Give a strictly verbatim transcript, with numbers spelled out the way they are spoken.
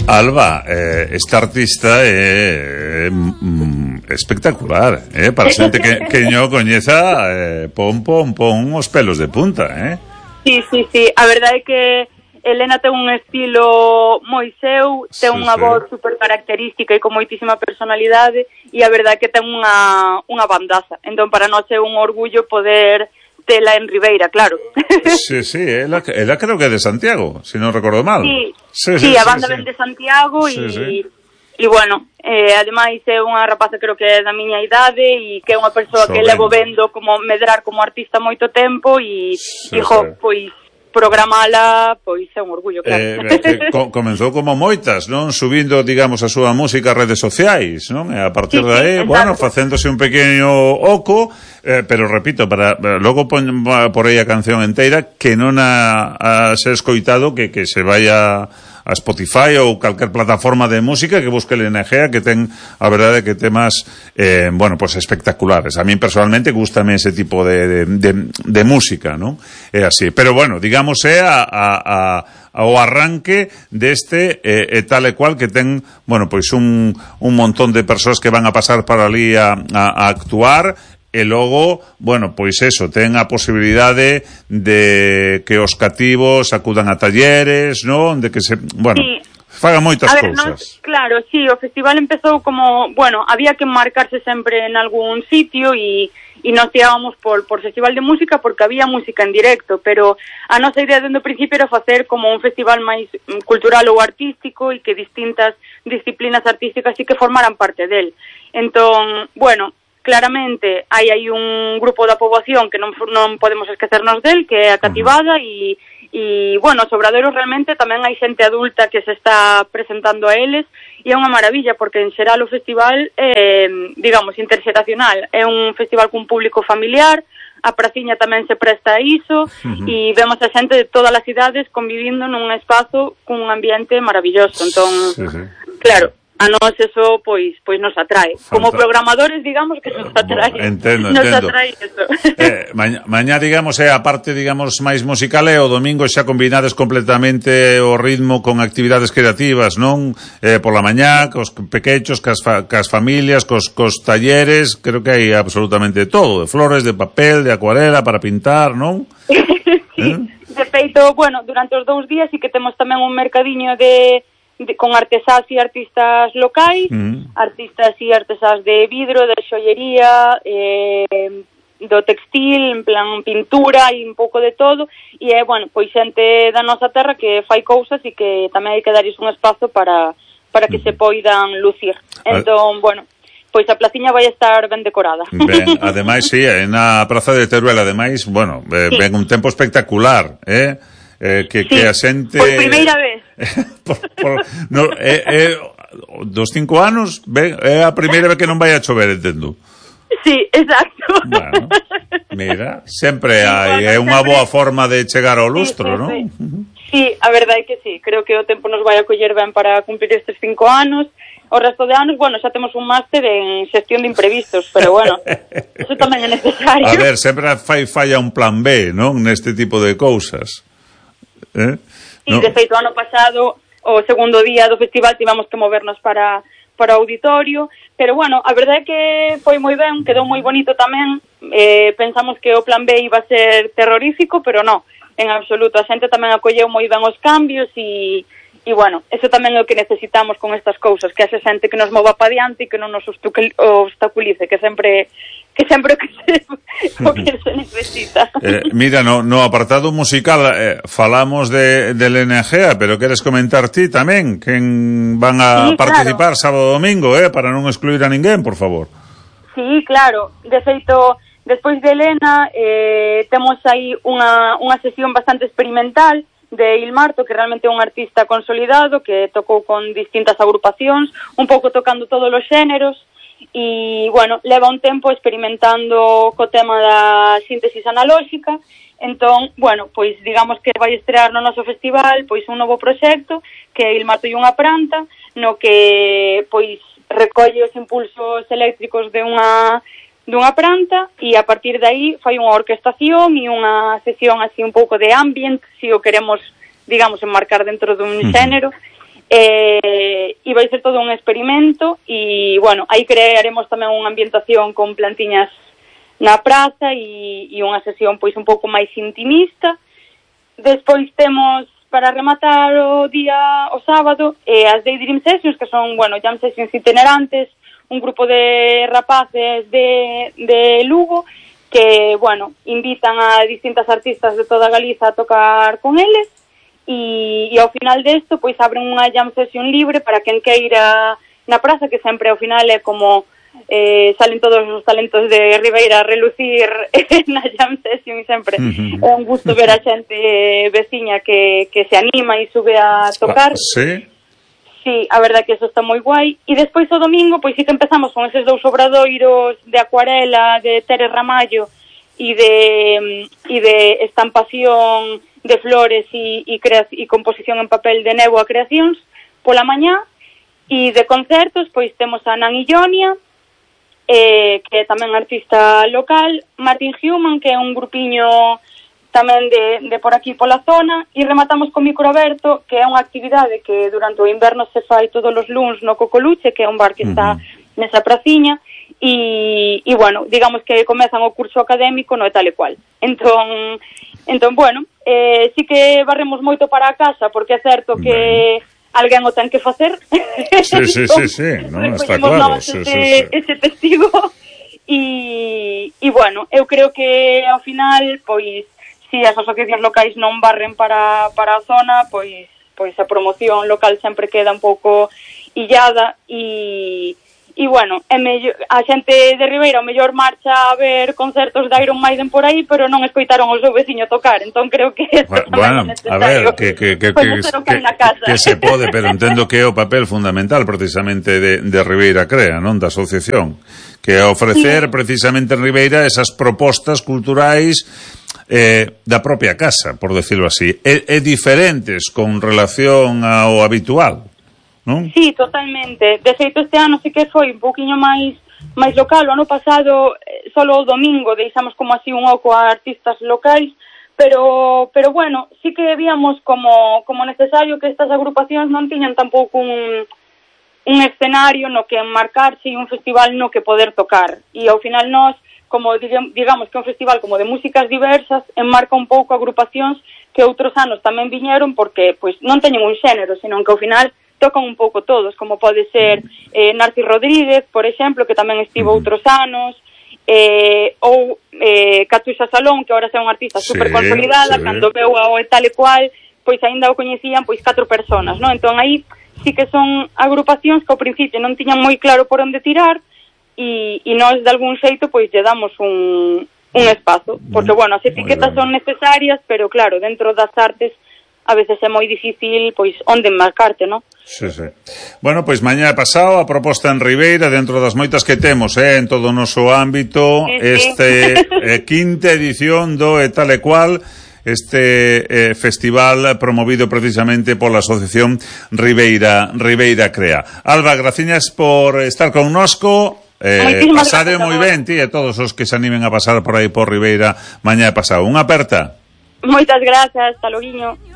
Alba, eh, esta artista é eh, mm, espectacular, eh? Para xente que, que non coñeza, eh, pon, pon, pon os pelos de punta, eh? Sí, sí, sí, a verdade é que Elena ten un estilo moi seu, ten sí, unha sí. voz super característica e con moitísima personalidade, e a verdade é que ten unha, unha bandaza. Entón, para nós é un orgullo poder tela en Ribeira, claro. Sí, sí, ela, ela creo que é de Santiago, se si non recordo mal. Sí, sí, sí, sí a banda sí, ven sí. de Santiago e, sí, sí. e bueno, eh, ademais é unha rapaza creo que é da miña idade e que é unha persoa so que levo vendo como medrar como artista moito tempo e, sí, e jo, sí. pois programala, pois é un orgullo, claro. Eh, eh, co comenzou como moitas, non? Subindo, digamos, a súa música a redes sociais, non? E a partir sí, de aí, sí, bueno, facéndose un pequeno oco, eh, pero repito, para logo pon por aí a canción enteira que non a, a ser escoitado, que, que se vaya a Spotify ou calquer plataforma de música que busque Elena Egea, que ten, a verdade, que temas eh, bueno, pues espectaculares. A mí personalmente gustame ese tipo de, de, de, de música, ¿no? É así. Pero bueno, digamos, é a, a, a o arranque deste eh, e tal e cual que ten, bueno, pois un, un montón de persoas que van a pasar para ali a, a, a actuar. E logo, bueno, pois eso, ten a posibilidade de que os cativos acudan a talleres, non? De que se, bueno, sí. faga moitas a ver, cousas. No, claro, sí, o festival empezou como, bueno, había que marcarse sempre en algún sitio e e nos tirábamos por, por festival de música porque había música en directo, pero a nosa idea dende o principio era facer como un festival máis cultural ou artístico e que distintas disciplinas artísticas sí que formaran parte del. Entón, bueno, claramente hai aí un grupo da poboación que non, non podemos esquecernos del, que é a cativada, e, e bueno, os obradoiros realmente tamén hai xente adulta que se está presentando a eles, e é unha maravilla, porque en xeral o festival é, digamos, interxeracional, é un festival cun público familiar, a praciña tamén se presta a iso, uh-huh. e vemos a xente de todas as idades convivindo nun espazo cun ambiente maravilloso, entón, sí, sí. claro, a nós eso, pois, pois nos atrae. Fanta. Como programadores, digamos, que nos atrae. Entendo, nos entendo. atrae eso. Eh, mañá, mañá, digamos, é a parte, digamos, máis musical, e o domingo xa combinades completamente o ritmo con actividades creativas, non? Eh, por la mañá, cos pequechos, cas, fa, cas familias, cos, cos talleres, creo que hai absolutamente todo, de flores, de papel, de acuarela, para pintar, non? Sí, eh? De feito, bueno, durante os dous días sí que temos tamén un mercadiño de... De, con artesás e artistas locais, mm. artistas e artesás de vidro, de xollería, eh, do textil, en plan pintura e un pouco de todo, e é, bueno, pois xente da nosa terra que fai cousas e que tamén hai que darles un espazo para, para que mm. se poidan lucir. Entón, bueno, pois a placiña vai estar ben decorada. Ben, ademais, sí, na Praza de Teruel, ademais, bueno, eh, sí. ven un tempo espectacular, eh? Eh, que, sí, que a xente... por primeira vez. por, por, no, é, é, dos cinco anos, ben, é a primeira vez que non vai a chover, entendo. Sí, exacto. Bueno, mira, sempre hai, é unha boa forma de chegar ao lustro, sí, sí, non? Sí. Sí, a verdade é que sí, creo que o tempo nos vai a coller ben para cumplir estes cinco anos. O resto de anos, bueno, xa temos un máster en xestión de imprevistos, pero bueno, eso tamén é necesario. A ver, sempre fai falla un plan B, non? Neste tipo de cousas. Eh? Sí, no. De feito, ano pasado, o segundo día do festival, tivamos que movernos para, para o auditorio, pero bueno, a verdade é que foi moi ben, quedou moi bonito tamén, eh, pensamos que o plan B iba a ser terrorífico, pero non, en absoluto, a xente tamén acolleu moi ben os cambios e, e bueno, eso tamén é o que necesitamos con estas cousas, que haxe xente que nos mova pa diante e que non nos obstaculice, que sempre... que sempre que se, o que se necesita. Eh, mira, no, no apartado musical eh, falamos de, de Elena Egea, pero queres comentar ti tamén quen van a sí, participar claro. Sábado e domingo, eh, para non excluir a ninguén, por favor. Sí, claro. De feito, despois de Elena eh, temos aí unha, unha sesión bastante experimental de Ilmarto, que realmente é un artista consolidado, que tocou con distintas agrupacións, un pouco tocando todos os xéneros, e, bueno, leva un tempo experimentando co tema da síntesis analóxica. Entón, bueno, pois digamos que vai estrear no noso festival pois un novo proxecto que é Ilmarto e unha pranta, no que pois recolle os impulsos eléctricos de unha dunha pranta e a partir de aí fai unha orquestación e unha sesión así un pouco de ambient, se o queremos, digamos, enmarcar dentro dun xénero. e, e vai ser todo un experimento e, bueno, aí crearemos tamén unha ambientación con plantiñas na praza e, e unha sesión pois un pouco máis intimista. Despois temos, para rematar o día, o sábado, eh, as Daydream Sessions, que son, bueno, jam sessions itinerantes, un grupo de rapaces de, de Lugo, que, bueno, invitan a distintas artistas de toda Galiza a tocar con eles, e, e ao final desto, pois, abren unha jam session libre para quen queira na praza, que sempre ao final é como eh, salen todos os talentos de Ribeira a relucir na jam session, e sempre uh-huh. é un gusto ver a xente veciña que, que se anima e sube a tocar. Ah, sí? Sí, a verdade que eso está moi guai. E despois o domingo, pois sí que empezamos con eses dous obradoiros de acuarela de Tere Ramallo e de, e de estampación de flores e, e, crea, e composición en papel de Nebo a Creacións pola mañá. E de concertos, pois temos a Nan Illonia, eh, que é tamén artista local, Martin Human, que é un grupiño tamén de, de por aquí pola zona, e rematamos con Microberto, que é unha actividade que durante o inverno se fai todos os luns no Cocoluche, que é un bar que está uh-huh. nesa praciña, e, e bueno, digamos que comezan o curso académico no e tal e cual. Entón, entón bueno, eh, sí que barremos moito para a casa, porque é certo que bueno. alguén o ten que facer. Sí, sí, sí, sí, no, está claro. Ese, sí, sí, sí. ese testigo, e, e bueno, eu creo que ao final, pois, si as asociacións locais non barren para, para a zona, pois pois a promoción local sempre queda un pouco illada e, e bueno, é mellor, a xente de Ribeira o mellor marcha a ver concertos de Iron Maiden por aí, pero non escoitaron o seu veciño tocar, entón creo que isto bueno, tamén é necesario. A ver, que, que, que, que, que, que se pode, pero entendo que é o papel fundamental precisamente de, de Ribeira Crea, non? Da asociación, que é ofrecer sí. precisamente en Ribeira esas propostas culturais Eh, da propia casa, por decirlo así, é, é diferentes con relación ao habitual, non? Sí, totalmente. De feito, este ano sí que foi un poquinho máis máis local. O ano pasado, eh, solo o domingo, deixamos como así un oco a artistas locais, pero pero bueno, sí que víamos como como necesario que estas agrupacións non tiñan tampouco un un escenario no que enmarcarse e un festival no que poder tocar. E ao final nós, como digamos que é un festival como de músicas diversas, enmarca un pouco agrupacións que outros anos tamén viñeron porque pois non teñen un xénero, senón que ao final tocan un pouco todos, como pode ser eh, Narcis Rodríguez, por exemplo, que tamén estivo outros anos, eh, ou eh, Catuxa Salón, que agora é unha artista sí, super consolidada, sí. Cando veu a o tal e cual, pois aínda o coñecían pois catro personas, non? Entón aí sí que son agrupacións que ao principio non tiñan moi claro por onde tirar, e, e nós de algún xeito pois lle damos un, un espazo, porque bueno, as etiquetas son necesarias, pero claro, dentro das artes a veces é moi difícil pois onde enmarcarte, non? Sí, sí. Bueno, pois mañá pasado a proposta en Ribeira, dentro das moitas que temos, eh, en todo o noso ámbito, sí, sí. este eh, quinta edición do e tal e cual, este eh, festival promovido precisamente pola Asociación Ribeira Ribeira Crea. Alba, graciñas por estar connosco. Eh, pasade moi ben, ti, e todos os que se animen a pasar por aí por Ribeira mañá pasado. Unha aperta. Moitas grazas, hasta loguiño.